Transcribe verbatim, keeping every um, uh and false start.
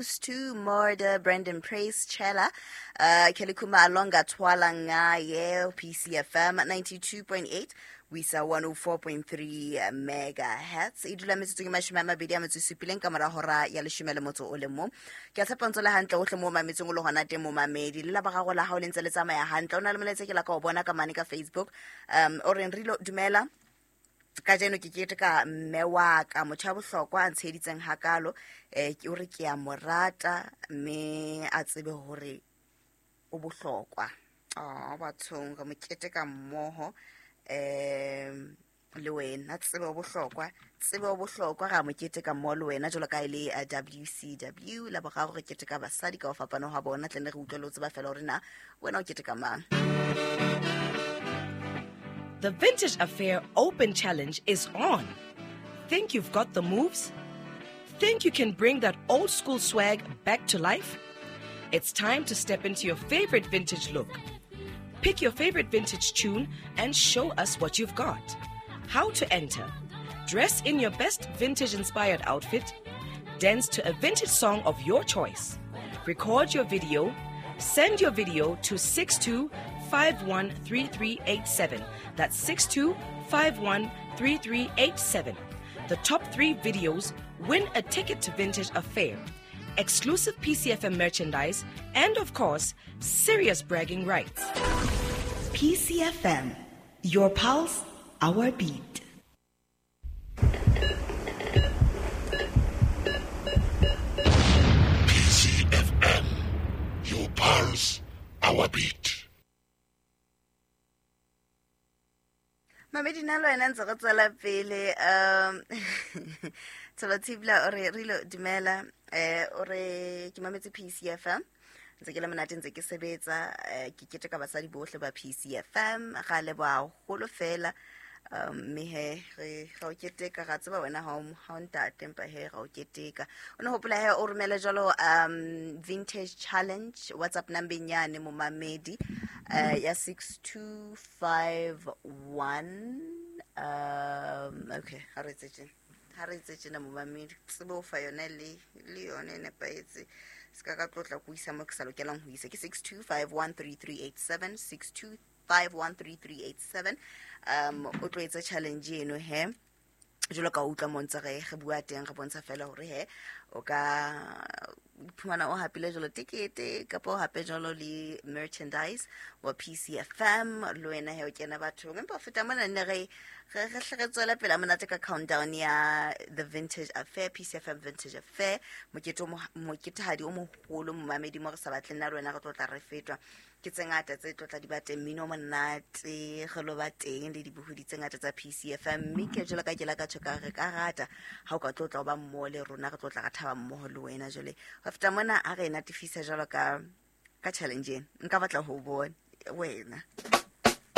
To Murder, Brandon Praise, Chela, uh, Kelly Kuma Alonga Twala Ngaye, P C F M ninety-two point eight, Wisa one oh four point three megahertz. E dula metsotso ke mashome a mabedi a metso e supileng ka mora hora ya leshome le motso o le mong. Ke a tshepa ntso le hantle ohle mo mametseng o le hona teng mo mamedi. Le la ba gago la hao le ntse le tsamaya hantle. O na le molaetsa ke la ka o bona ka mane ka Facebook. Um, o reng Rilo dumela. Kajeno ke keteka mme wa ka motho ya bohlokwa a ntsheditseng hakalo, eh ke hore ke a mo rata mme a tsebe hore o bohlokwa. Ah, bathong re mo keteka mmoho, eh le wena tsebe o bohlokwa, tsebe o bohlokwa ra mo keteka mmoho le wena jwalo ka e le W C W la boraro re keteka basadi ka ho fapana ha bona tle ne re utlwe le ho tseba fela hore na wena o keteka mang. The Vintage Affair Open Challenge is on. Think you've got the moves? Think you can bring that old school swag back to life? It's time to step into your favorite vintage look. Pick your favorite vintage tune and show us what you've got. How to enter? Dress in your best vintage-inspired outfit. Dance to a vintage song of your choice. Record your video. Send your video to six two five one three three eight seven. That's six two five one three three eight seven. The top three videos win a ticket to Vintage Affair, exclusive P C F M merchandise, and of course, serious bragging rights. P C F M, your pulse, our beat. P C F M, your pulse, our beat. Mamedi na le wena ntse re tswela pele, um Tholo Thibla o re Rilo dumela, eh o re ke mametse P C F M ntse ke le monate ntse ke sebetsa, eh, ke keteka basadi bohle ba P C F M ga leboha haholo fela, um mme he re ga o keteka ga tseba wena ha o ha o ntate empa he ga o keteka. O ne hopola he o romele jwalo, um vintage challenge WhatsApp number nyane momamedi, uh, ya six two five one, um okay ha re tsetse ha re tsetse na momamedi tsebo o fa yone le le yone e nepahetse se ka ka tlotla go isa mo ke sa lokelang ho isa ke six two five one three three eight seven, six two five one three three eight seven. Um o tlo etsa challenge eno he jwalo ka utlwa mo ntse re re bua teng re bontsha fela hore he o ka iphumana o hapile jwalo tikete kapa o hape jwalo le merchandise wa P C F M le wena he o kena bathong. Empa ho feta mona ne re re re hle re tswela pele monate ka countdown ya The Vintage Affair, P C F M Vintage Affair, mokete o mo-, moketehadi o moholo momamedi mo re sa batleng na le wena re tlo tla re fetwa ke tse ngata tse tlo tla di ba teng, mmino o monate re lo ba teng le dibohodi tse ngata tsa P C F M. Mme ke jwalo ka ke la ka tjho ka re ka rata ha o ka tlo tla o ba mmoho le rona re tlo tla re thaba mmoho le wena. Jwale ho feta mona a re natefisa jwalo ka, ka challenge ena nka batla ho bona wena.